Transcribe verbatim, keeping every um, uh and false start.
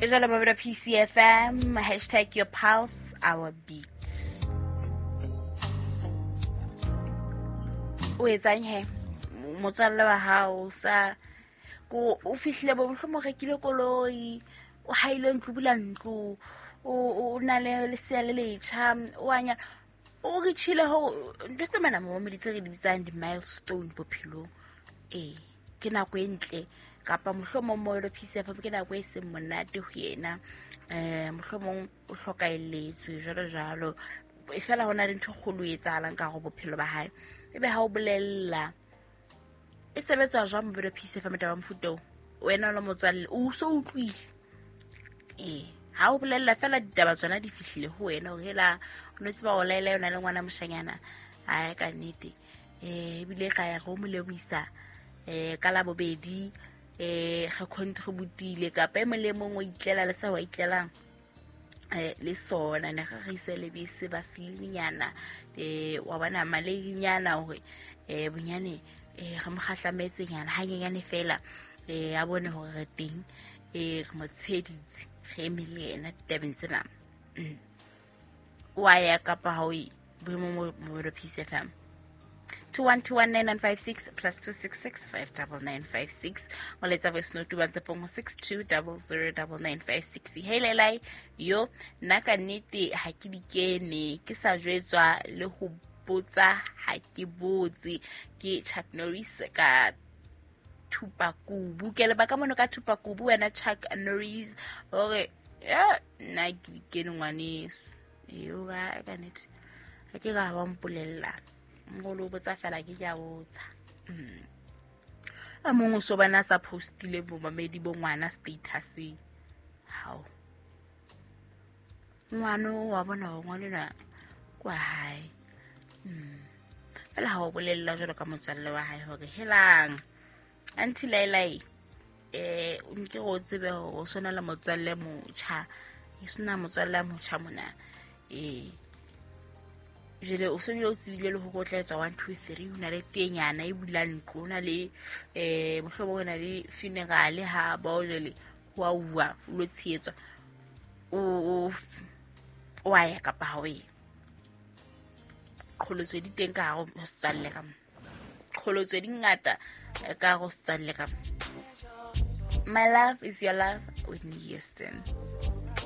E jwalo Mabelo P C F M, hashtag your pulse, our beats. O etsang he? Motswalle wa hao sa ko o fihlile bo mohlomong rekile koloi, o haile ntlo, bula ntlo, o o na le lesea le letjha, o anya o re tshile ho ntho tse mana mo meditse re di bitsang di milestone bophelong. Eh, ke nako e ntle kapa mohlomong mo lo P C F M ke nako e seng monate ho yena. Eh, mohlomong o hlokaelletswe jwalo jwalo. E fela hona le ntho kgolo e etsahalang ka go bophelo ba hae. Ebe ha o bolella e sebetsa jwang Mabelo P C F M taba mofuta o? Wena o le motswalle o so utlwile. Eh, ha o bolella fela ditaba tsona di fihlile ho wena hore hela o no tseba o laela yona le ngwana moshanyana. Ai ka nnete. Eh, ebile ka ya go mo lebohisa eh ka la bobedi eh ga contributile kapa e mong le mong o itlela le sa wa itlelang eh le sona ne ga re ise lebese ba selinyana eh wa bona maledinyana hore eh bonyane eh re mo kgahlametse nyana hanyenyane fela eh a bone hore re teng eh re mo tsheditse re eme le yena ditabeng tsena. Wa ya kapa ha o e boemo mo P C F M two one two one nine nine five six plus two six six five double nine five six. Ngoletsa voice note ba tsepong six two double zero double nine five six. Hey lelai yo nna ka nnete ha ke di kene ke sa jwetswa le ho botsa ha ke botse. Ke Chuck Norris ka Thupakubu. Ke le baka mono ka Thupakubu wena Chuck Norris hore ya nna ke di kene ngwaneso. Yo ga ka nnete ha ke ga ba mpolella ngolo botsa fela ke ja botsa. Mm. A mongwe so bana sa postile bo mamedi bo ngwana status. Hao. Ngwana wa bona ho ngwana kwa hae. Mm. Fela ha o bolella jalo ka motswalle wa hae hore helang. Auntie Lailai eh nke go tsebe hore o sona le motswalle motjha. E sona motswalle motjha mona. Eh jele o se o tsebile le hore o tla etsa one two three ho na le tenyana e bula ntlo ho na le eh mohlomong ho na le funeral ha ba o jele ho a uwa o lo tshehetswa o o a ya kapa ha o ye. Qholotso di teng ka hare ho setswalle ka mo. Qholotso di ngata ka hare ho setswalle ka mo. My love is your love, Whitney Houston.